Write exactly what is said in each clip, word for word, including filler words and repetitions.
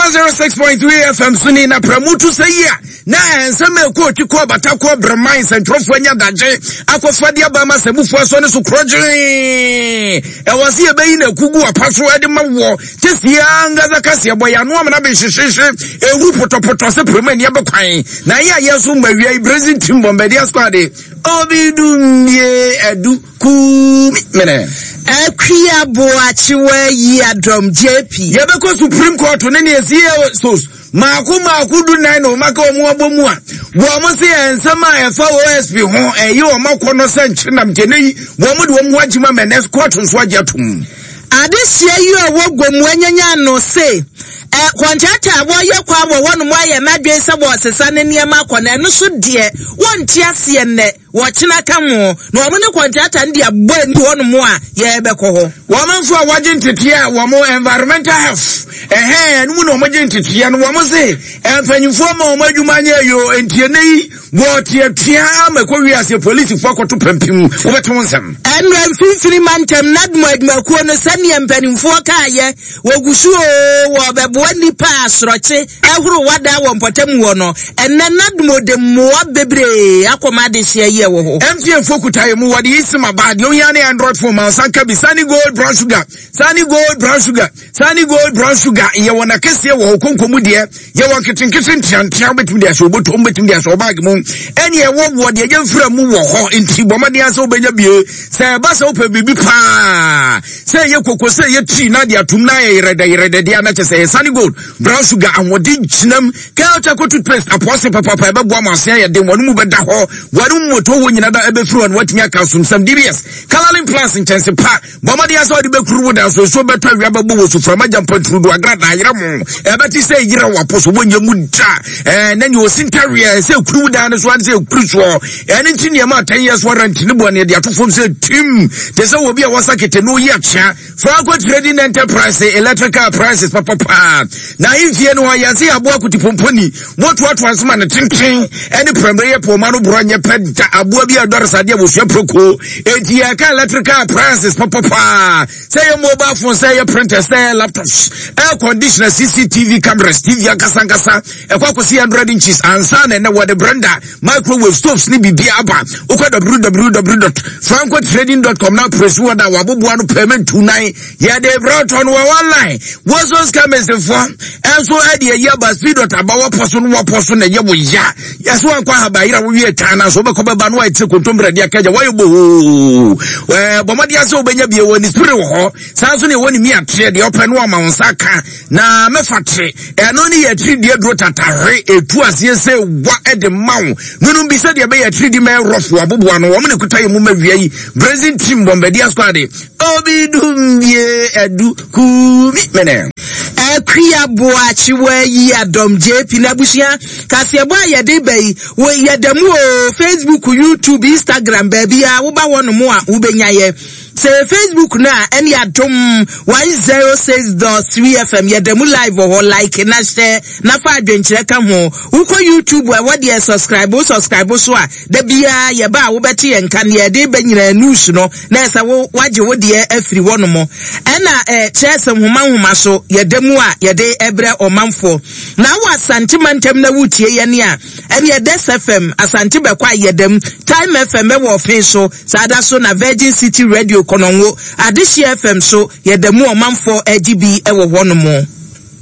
one zero six point three F M so ni na pramutu sɛ yi a na nsɛm a ɛkɔ ɔtwi kɔ bata kɔ brɛman nsɛntwerɛfoɔ anya dagye akɔfa de aba ma sɛmufoɔ asɔ ne so korɔgyee. Ɛwɔ sɛ yɛbɛyi na akugu apa so de ma wɔ te sie ankasa kaseɛ bɔ yɛ ano amena bɛhyehyehye ɛwu pɔtɔpɔtɔ sɛ prɛmu ani abɛkwan na ɛyɛ a yɛn so mma wia yi Brazil team Bombardier squad obi dumie adu kumi mene. Akua Boakyewa yi adɔm J P. Yɛbɛkɔ Supreme Court ne ne ɛsi sos maako maako du nan na ɔmaka wɔn abɔ mu a wɔn se nsɛm a ɛfa O S P ho ɛyɛ wɔn akɔ no sɛ nkyenam gyene yi wɔn de wɔn ho agyima mɛ nɛ court nso agye atom. Adehyia yi a ɔwɔ gomu anyanya no se ɛ contractor a wɔyɛ kwan wɔ hɔnom ayɛ n'adwene sɛ wɔresesa ne nneɛma akɔ na ɛno so deɛ wɔnte aseɛ nnɛ wɔkyena ka ho na wɔn ne contractor no de abɔ ani hɔnom a yɛrebɛkɔ hɔ. Wɔn nso a wɔgye nteteɛ a wɔn environmental health ɛhɛn ɛno mu na wɔn gye nteteɛ no, wɔn se mpanyinfoɔ ma wɔn adwuma nyɛ yo ntie ne yi wɔteatea ama ɛkɔ wiase polisifoɔ akɔto pampim wɔbɛte wɔn nsɛm. Ɛnura mfimfini mantam NADMO adwumakuo no, sɛnea mpanimfoɔ kaayɛ, wɔgu so o wɔbɛboa nnipa a asorɔkye ɛhoro wada wɔ mpɔtam wɔ no. Ɛnɛ NADMO de mmoa bebree akɔma adehyeɛ yi ɛwɔ hɔ. M T N fo kuta yɛ mu, wɔde yi sim aba deɛ ohia ne Android phone ma nsa nka bi. Sani Gold brown sugar, Sani Gold brown sugar, Sani Gold brown sugar, yɛwɔ n'akɛseɛ wɔ hɔ konko mu deɛ, yɛwɔ nketenkete nteantea, wobɛtumi de ahyɛ obotom, wobɛtumi de ahyɛ ɔbag mu, ɛne ɛwɔ wɔ deɛ yɛmfira mu wɔ hɔ. Nti bɔ mmɔden sɛ wobɛnya bie sɛ ɛba sɛ wopɛ biribi paa sɛ ɛyɛ koko sɛ ɛyɛ tii na de atom na ayɛ yerɛdɛ yerɛdɛ deɛ ana kyɛ sɛ ɛyɛ Sani Gold brown sugar. Ahoɔden gyinam Kel Charcoal toothpaste apɔse papapa, ɛbɛboa ma ase ayɛ den, wɔn mu bɛda hɔ, wɔn mu moto wɔ nyina da ɛbɛfiri hɔ no watumi aka asomsɛm. D B S Coloring Plus nkyɛnse pa, bɔ mmɔden sɛ wɔde bɛkuru wo da so nsuo bɛtɔ, awia bɛbɔ wɔ suframa gya mpɔnturudu agrada ayerɛ mo ɛbɛte sɛ yerɛ wɔ so wɔnyɛ mu da ɛɛ na nea osi ntareɛ sɛ ekuru wo dan no so ane sɛ ekuru soɔ. Ɛne nti nneɛma a ten years warranty ne bɔ ne de ato fam sɛ tim te sɛ obi a wɔsa kete no yi akyea. Franco Trading Enterprise, electrical appliances papapa na ahemfie no hɔ yɛse aboa kotipomponi motoatoa nsoma ne tenten ɛne prɛmmerɛ yɛ pɔma no borɔ nyɛ pɛ da aboa bi a ɛdɔre sadeɛ wɔsua proko. Enti yɛka electrical appliances papapa sɛ yɛ mobile phone, sɛ yɛ printer, sɛ yɛ laptops, air conditioner, C C T V cameras, T V ankasa ankasa ɛkɔ akɔsi hundred inches ansa na ɛnɛ wɔde blender, microwave, stoves ne biribi aba. Wokɔ w w w dot francotrading dot com na press wɔ da waboboa no pɛmɛ ntu nan yɛde brɛtɔ no wɔ online. Wɔso scammers-foɔ ɛnso ɛde ayi aba speed dot aba wɔpɔ so no wɔpɔ so na ɛyɛ wo ya yɛsɛ wankɔ ahaba yera wowie taa na so wobɛkɔ bɛba no wayɛ tiri kontombrɛ de aka gya wɔyɛ bohoo. Ɛɛ bɔmmɔden sɛ wobɛnya bie wɔ ne spirit wɔ hɔ saa nso ne ɛwɔ ne mi ateɛ deɛ ɔpɛ no ama wo nsa ka na mɛfa tere ɛno ne yɛ tiri deɛ duro tatahwe ɛtu aseɛ sɛ wa ɛde ma wo nonom bi sɛdeɛ ɛbɛyɛ tiri di mɛ rɔfo aboboa no wɔn ne kuta yɛ mu ma wia yi Brazil team Bombardier squad obi dumbie adu kumi mene. Akua Boakyewa yi adɔm J P n'abusua kaseɛbɔ a yɛde ba yi wɔ yɛda mu o Facebook, YouTube, Instagram, baabi a woba hɔ nom a wobɛnya yɛ sɛ Facebook no a ɛne Adom one zero six dot three F M, yɛda mu live wɔ hɔ. Like na hyɛ na fa adwenkyerɛ ka ho. Wokɔ YouTube a ɛwɔ deɛ subscribe, wo subscribe so a da biara yɛba a wobɛte yɛn nka neɛ yɛde ba nyinaa news no na ɛsɛ wo wagye wo deɛ afiri hɔ nom. Ɛna ɛɛ kyerɛ sɛ nhoma nhoma so yɛda mu a yɛde ɛbrɛ ɔmanfoɔ na wɔ Asante mantam na wotie yɛn a ɛne Ɛdɛs F M Asante bɛkɔ a yɛda mu, Time F M ɛwɔ ɔfen so saa da so na Virgin City Radio Kɔnɔngo, Adehyeɛ F M so yɛda mu, ɔmanfoɔ agye bi ɛwɔ hɔ nom.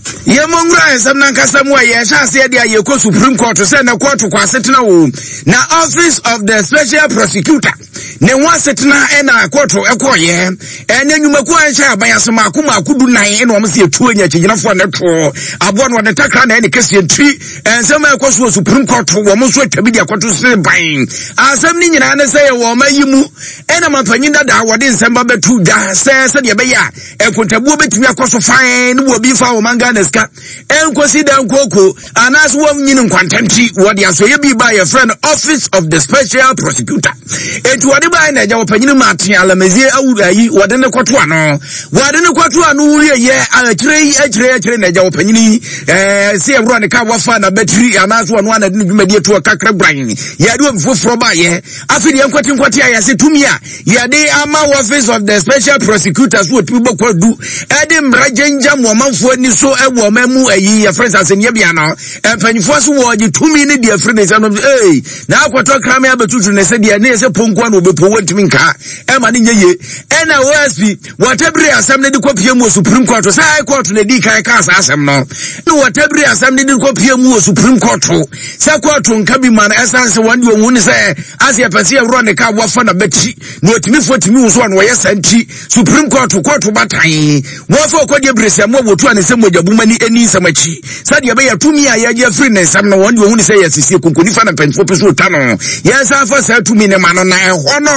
Yɛmmɔ nwura nsɛm nankasa mu a yɛhyɛ aseɛ deɛ a yɛkɔ Supreme Court sɛ na court kɔ asetena wo na Office of the Special Prosecutor ne ho asetena ɛna court ɛkɔɔyɛ ɛne nnwumakuo a ɛhyɛ aban ase maako maako du nan ɛna wɔn sɛ yɛtuo nya akyigyinafoɔ ne toɔ aboa no wɔde takra na ɛne kɛseɛ ntiri nsɛm a ɛkɔ so wɔ Supreme Court, wɔn nso atwa bi de akɔto sere ban. Asɛm no nyinaa ne sɛ yɛwɔ ɔma yi mu ɛna mampanyin dada wɔde nsɛm ba bɛto dwa sɛ sɛdeɛ ɛbɛyɛ a nkontabuo bɛtumi akɔ so fan ne wɔ bi fa ɔman Ghana sika ɛnkɔsi dan kooko anaasɛ wɔnyini nkwantɛnti wɔde asɔyɛ bi ba yɛfrɛ no Office of the Special Prosecutor. Enti wɔde bae na agya wɔpanyini ma ate alamazie awu ayi wɔde ne kɔto ano wɔde ne kɔto ano wieyɛ akyire yi akyire akyire na agya wɔpanyini yi ɛɛ sɛ yɛwura ne ka wafa na bɛtiri anaasɛ ɔno ana de ne dwumadie to ɔkakra guran yɛde obi foforɔ baayɛ. Afei deɛ nkwati nkwati a yɛse tumi a yɛde ama Office of the Special Prosecutor so wɔtumi bɔ kwadu ɛde mmara gyangya mu ɔmanfoɔ ani so ɛwɔ Wɔ ɔman mu ayi yɛfrɛ sɛ asɛnniɛ bea no, mpanyinfoɔ so wɔgye tumi ne deɛ afiri ne nsɛm no. Ee, na akɔtɔ krame abɛtutu ne sɛ deɛ ne yɛ sɛ ponkoa na wɔbɛpo, wɔntumi nka ɛma ne nyɛ yie. Ɛna O S P wɔtabiri asɛm no de kɔpie mu wɔ Supreme Court sɛ High Court na ɛdii kan kaa saa asɛm no, ne wɔtabiri asɛm no de kɔpie mu wɔ Supreme Court sɛ court nka bi ma no, ɛsiane sɛ wɔn deɛ ɔhu ne sɛ ase yɛpɛ sɛ yɛworɔ ne ka wɔfa na bɛkyi na ɔtumi fo tumi wo so a na wɔyɛ saa. Nti Supreme Court court batan wɔfa ɔkɔdeɛ bere sɛ mo a wɔtu a ne nsɛm mogya ni ani nsɛm akyi sɛdeɛ ɛbɛyɛ tumi a yɛgye afiri ne nsɛm no, wɔn deɛ ɔhu ne sɛ yɛasisie konkonifa na mpanyinfoɔ pɛ so ɔtwa no, yɛnsan fa saa tumi ne ma no. Na ɛhɔ no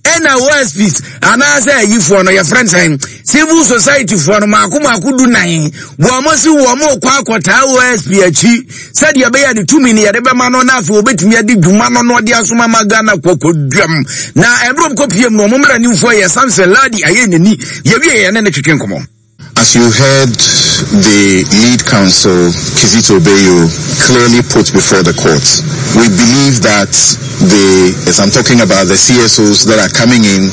ɛna O S Ps anaasɛ ayifoɔ no, yɛfrɛ no sɛn, civil society foɔ no maako maako du nan, wɔn mo si wɔn mo kɔ akɔtaa O S P akyi sɛdeɛ ɛbɛyɛ ne tumi no yɛde bɛma no, na afei wɔbɛtumi adi dwuma no na ɔde asoma ma Ghana kɔkɔduam. Na ɛberɛ kɔpiem no, ɔmo mmaranimfoɔ yɛ Samson Ladi ayɛ n'ani yɛwie yɛne ne twetwe nkɔmmɔ. As you heard the lead counsel, Kizito Beyo, clearly put before the court, we believe that the, as I'm talking about the C S Os that are coming in,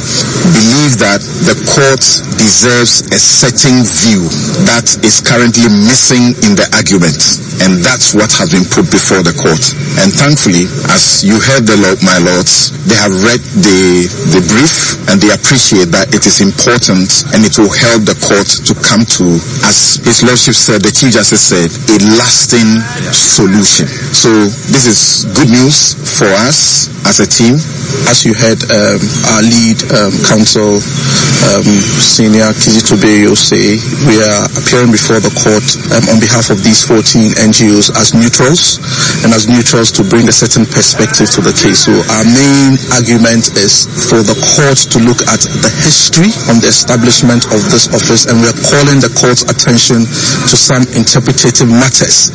believe that the court deserves a certain view that is currently missing in the argument. And that's what has been put before the court. And thankfully, as you heard the law, my lords, they have read the, the brief and they appreciate that it is important and it will help the court to come to, as His Lordship said, the Chief Justice said, a lasting solution. So this is good news for us as a team. As you heard um, our lead um, counsel, um, Senior Kizito Beyo, say, we are appearing before the court um, on behalf of these fourteen N G Os as neutrals, and as neutrals to bring a certain perspective to the case. So our main argument is for the court to look at the history on the establishment of this office, and we are calling the court's attention to some interpretative matters.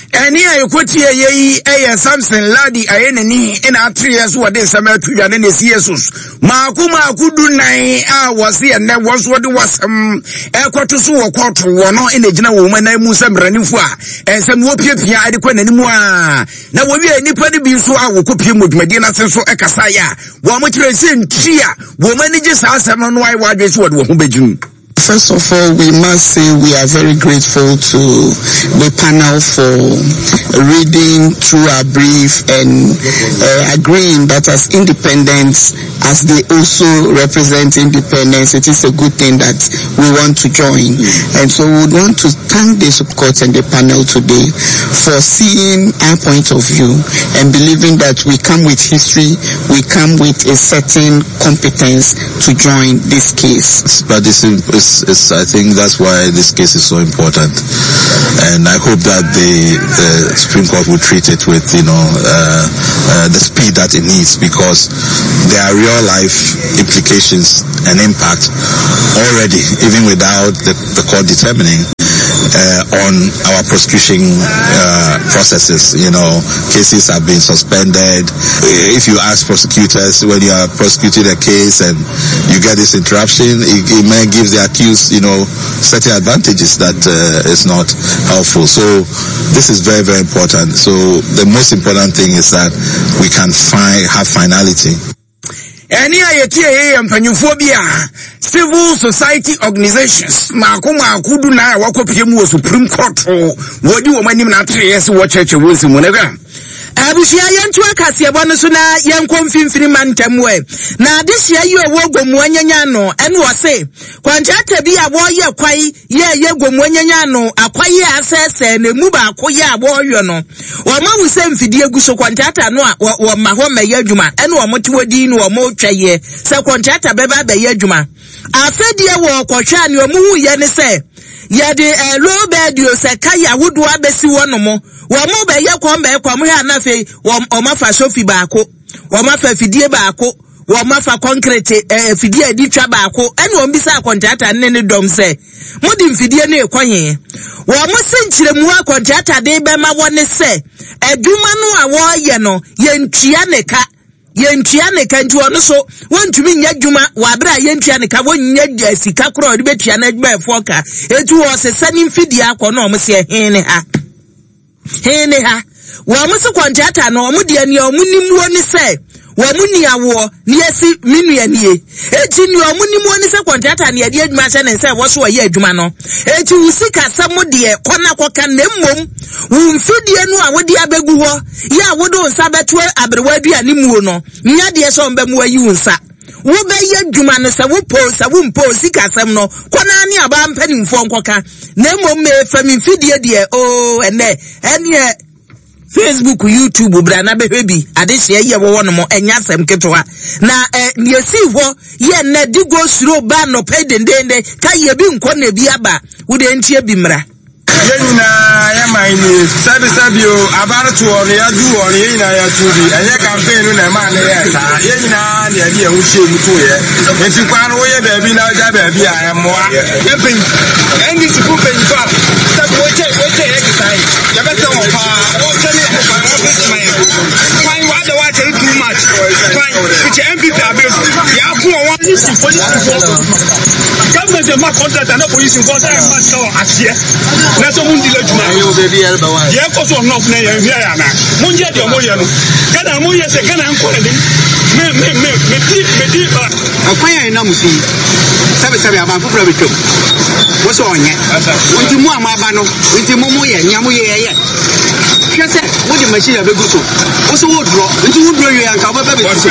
Ɛne a yɛkɔtie yɛ yi ɛyɛ Samson Ladi ayɛ n'ani ɛna atereɛ so wɔde nsɛm ato dwa ne ne C S Os maako maako du nan a wɔse ɛnɛ wɔn nso wɔde wasɛm ɛkɔto so wɔ kɔɔto wɔ no, ɛna gyina wɔn anan mu sɛ mmaranimfo a ɛnsɛm wɔpiapia ɛde kɔ n'anim a, na wɔwie nnipa no bi nso a wɔkɔpie mu dwumadie no ase nso ɛkasaeɛ a wɔn kyerɛ sɛ nti a wɔn ani gye saa asɛm no no ayɛ wɔadwene so wɔde wɔn ho bɛgyim. First of all, we must say we are very grateful to the panel for reading through our brief and uh, agreeing that as independents, as they also represent independence, it is a good thing that we want to join. And so we would want to thank the Court and the panel today for seeing our point of view and believing that we come with history, we come with a certain competence to join this case. But it's, it's, it's, I think that's why this case is so important. And I hope that the, the Supreme Court will treat it with, you know, uh, uh, the speed that it needs, because there are real life implications and impact already, even without the, the court determining uh, on our prosecution uh, processes. You know, cases have been suspended. If you ask prosecutors, when you are prosecuting a case and you get this interruption, it, it may give the accused, you know, certain advantages that uh, is not helpful. So this is very, very important. So the most important thing is that we can find have finality. Ɛne a yɛtie yɛ yɛ mpanyinfoɔ bi a civil society organizations maako maako du nan a wɔakɔpie mu wɔ Supreme Court, wɔdi wɔn anim na atereɛ sɛ wɔkyerɛkyerɛ wɔn nsɛm mu no hwɛ. Abusua, yɛnto akaseɛbɔ no so na yɛnkɔ Mfimfini ma ntɛm ɛ na adehyia yi ɔwɔ Gomoa nyanya no, ɛne ɔse kwankyɛta bi a wɔreyɛ kwae yɛɛyɛ Gomoa nyanya no akwae a asɛesɛe na emu baako yɛ a wɔreyɔ no, wɔn ahu sɛ mfidie gu so kɔntrata no a wɔma hɔ mmɛyɛ adwuma, ɛne wɔn te wɔ din no wɔn retwa yɛ sɛ kɔntrata bɛba abɛyɛ adwuma. Afɛdeɛ wɔ kɔhwɛ a, nea wɔn hu yɛ ne sɛ yɛde ɛɛ low bed o sɛ kaya ahodoɔ abɛsi hɔ nom, wɔn mo bɛyɛ kɔn bɛyɛ kɔn mo hwɛ anafei wɔn wɔn afa sofi baako, wɔn afa fidie baako, wɔn afa concrete ɛɛ fidie a yɛde twa baako, ɛna wɔn bisa akɔntrata ne ne dɔm sɛ mo de mfidie no ekɔ yɛn. Wɔn mo se nkyerɛmu akɔntrata de bɛma wɔn ne sɛ adwuma no a wɔreyɛ no, yɛntua ne ka, yɛntua ne ka, nti ɔno so wɔntumi nyɛ adwuma wɔ abere a yɛntua ne ka, wɔnyɛ sika korɔ a ɔde bɛtua n'adwumayɛfoɔ ka, etu wɔsesa ne mfidie akɔ. Na wɔn sɛ hɛn ne ha, hɛn ne ha, wɔn se kɔntrata no, wɔn deɛ nea wɔn nim wɔ ne sɛ Wɔn ni awoɔ ne yɛsi me nua nie. Eti nea ɔmo nim wɔ ne sɛ kɔntrata ne yɛde adwuma hyɛ ne nsa ɛwɔ so ɔyɛ adwuma no. Eti wo sika sɛm deɛ kɔ na kɔka, na mmom wo mfidie no a wode abɛgu hɔ yɛ a wode wo nsa bɛto aberewa aduane muo no, nya deɛ sɛ ɔmbɛmu ayi wo nsa. Wobɛyɛ adwuma no sɛ wopɔ sɛ wompɔ, sika asɛm no kɔ naa ne abaa mpanimfoɔ nkɔka, na mmom mefa me mfidie deɛ oo. Ɛnɛ ɛneɛ Facebook, YouTube, bra na bɛhwɛ bi. Adehyeɛ yɛ wɔwɔ no mo ɛnyɛ asɛm ketewa na ɛ deɛ si hɔ yɛ nnɛ di go suro ba nnɔpɛ dendenden ka yɛ bi nkɔ na ebi aba. Wode ntie bi mmra. Yɛn nyinaa yɛ man nie. Sɛbisɛbi o, abaretoɔ no yɛadu wɔ no, yɛn nyinaa yɛto bi. Ɛnyɛ campaign no na ɛma ne yɛ saa. Yɛn nyinaa na yɛde yɛn ho hyɛ mu to yɛ. Nti kwan no, woyɛ baabi na wogya baabi a, ɛmmoa. Yɛmpɛn N D C fo mpanyinfo a sɛbi wɔkyɛ wɔkyɛ yɛ kesa yi, yɛbɛsɛ wɔn paa. Wɔkyɛ ne kwan wɔn ma yɛ kwan wɔada wɔakyɛ no too much. Kwan fikyɛ N P P abere so yɛako wɔn wɔn. Polisi polisifoɔ, government ma contract ana polisi nkɔ sɛ ɛma sika wɔ aseɛ na sɛ mo ndi l'adwuma deɛ ɛkɔ so ɔnɔf na yɛn hwɛ yɛ ana mo nyɛ deɛ mo yɛ no. Ghana mo yɛ sɛ Ghana nkɔ n'anim. Me me me me di me di. Ɔkwan a ɛnam so yi, sɛbesɛbe, aban foforɔ bɛtwam wo sɛ ɔnyɛ nti mo a moaba no nti mo moyɛ nea moyɛ yɛyɛ. Hwɛ sɛ wode machine abɛgu so, wo so wodorɔ nti wodorɔ wie anka wobɛba bɛsi so.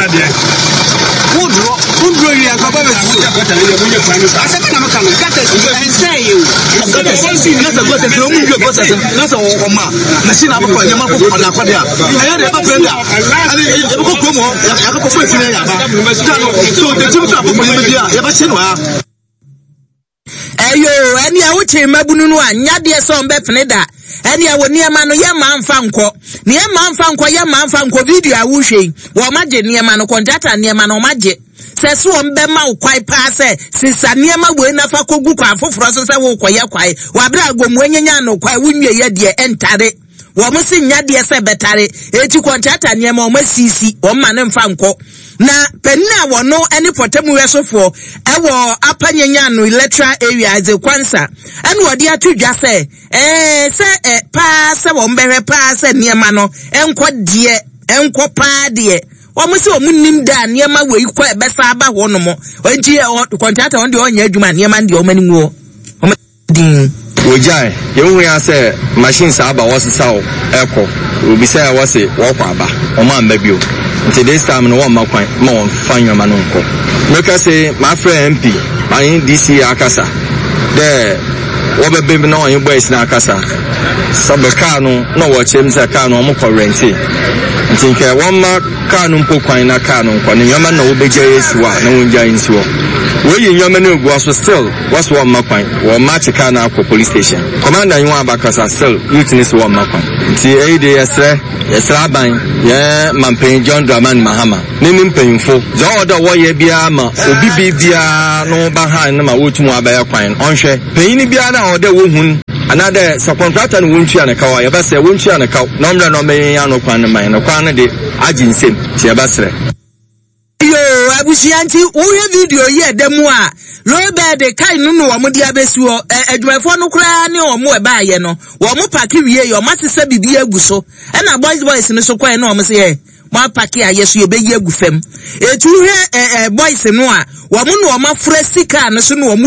Wodorɔ, wodorɔ wie anka wobɛba bɛsi so. Asɛm na meka no, gutters ɛnsɛ yɛ o. Gutters na sɛ gutters na ɔmu nwie gutters na sɛ ɔma machine abɛkɔ nneɛma kɔ ɔde akɔde a ɛyɛ de ɛbɛ pɛrɛ da ɛne yɛbɛkɔ kurom hɔ, yɛakɔkɔ fo esi na yɛ aba ta no so dekyim so akɔkɔ nneɛma bi a yɛbɛhyɛ no ha. Ɛyo, ɛne a wokyere mmabunu no a nyadeɛ sɛ ɔmbɛpene da. Ɛne a wɔ nneɛma no yɛ maa mfa nkɔ ne yɛ maa mfa nkɔ, yɛ maa mfa nkɔ. Video a wohwɛ yi, wɔn agye nneɛma no, kɔntrata nneɛma no wɔn agye sɛ so wɔn bɛma wo kwae paa sɛ sisa nneɛma wei nafa kɔgu kwan foforɔ so sɛ wokɔyɛ kwae wabere agomu anyanya no kwae wonwie yɛ deɛ ɛntare. Wɔn si nyadeɛ sɛ bɛtare eti kɔntrata nneɛma wɔn asisi wɔn ma ne mfa nkɔ. Na panin a wɔno ne pɔtɛmu wɛsofoɔ ɛwɔ Upper Nyanyano electoral area, Isaac Kwansa, ɛna wɔde ato dwa sɛ ɛɛ sɛ ɛ paa sɛ wɔn bɛhwɛ paa sɛ nneɛma no ɛnkɔ deɛ ɛnkɔ paa deɛ. Wɔn sɛ wɔn nim da nneɛma wei kɔ ɛbɛsa aba hɔ nom. Nti ɛ kɔntrata wɔn deɛ ɔnyɛ adwuma, nneɛma deɛ wɔn anim wɔ wɔn din. Wogyae yɛhu ya sɛ machine saa aba, wɔsesaw ɛkɔ obi sɛ wɔse wɔkɔ aba, wɔn amba bio. Nti this time no wɔmma kwan ma wɔmfa nneɛma no nkɔ. Meka sɛ mafrɛ M P mane D C akasa dɛ wɔbɛbɛ mu na ɔnye boys no akasa sɛbɛ kaa no na wɔkyerɛ mu sɛ kaa no ɔmo kɔ rent, nti nkɛ wɔmma kaa no mpo kwan na kaa no nkɔ ne nneɛma na wɔbɛgya esi hɔ a na wɔngya nsi hɔ. Wɔyi nneɛma no egu hɔ so, still wɔso wɔmma kwan. Wɔmma akye kaa no akɔ police station. Commander yi wɔn abakasa, still youth ne so wɔmma kwan. Nti ɛyi de yɛsrɛ yɛsrɛ aban yɛn mampanyin John Dramani Mahama ne ne mpanyinfo dza ɔwɔ dɛ wɔyɛ biara ma obi bi biara no ba ha no ma wɔtum abɛyɛ kwan. Ɔnhwɛ panyin biara na ɔwɔ dɛ wɔhun anaadɛ sɛ kɔntrata no wɔntua ne kaw a, yɛbɛsrɛ wɔntua ne kaw na ɔmmerɛ na ɔmɛyɛ ano kwan no ma yɛn no. Kwan no de agye nsam, nti yɛbɛsrɛ. Yo, abusua, nti wohwɛ video yi ɛda mu a lowbed kai no no wɔn de abɛsi hɔ. Ɛ adwumayɛfoɔ no koraa ne wɔn ɛbaayɛ no, wɔn park wie yɛ wɔn asesa biribi agu so, ɛna boys boys no so kɔɛ na wɔn sɛ yɛ mo apark a yɛ so yɛbɛyi agu fam. Etu hwɛ ɛ ɛ boys no a wɔn na wɔn afura sika no so na wɔn